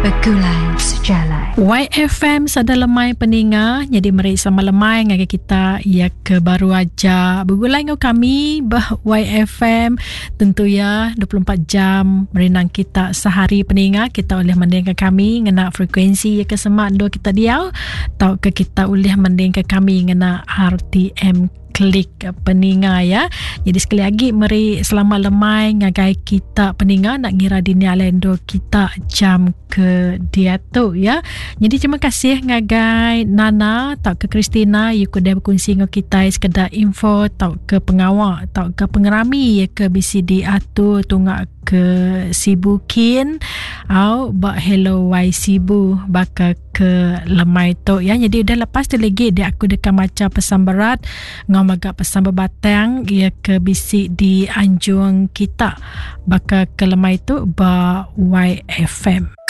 Begulai Sejalai. YFM sada lemai peninga nyadi meri sama lemai ngagai kita ya ke baru aja begulai enggau kami bah YFM tentu ya 24 jam merinang kita sehari peninga kita ulih mendingka kami ngena frekuensi ya ke semak endur kita diau tauka kita ulih mendingka kami ngena RTM klik peninga ya. Jadi sekali lagi meri selamat lemai ngagai kita peninga nak ngira dini alai endur kita jam ke diatu ya. Jadi terima kasih ngagai Nana tauka Christina you udah berkongsi enggau kita sekeda info tauka pengawa tauka pengerami ya ke bisi diatur tunga ke Sibu kin au ba Hello Y Sibu baka ke lemai tu ya. Jadi udah lepas tu lagi dia aku deka maca pesan berat ngau mega pesan bebatang ia ke bisi di anjung kita baka ke lemai tu ba YFM.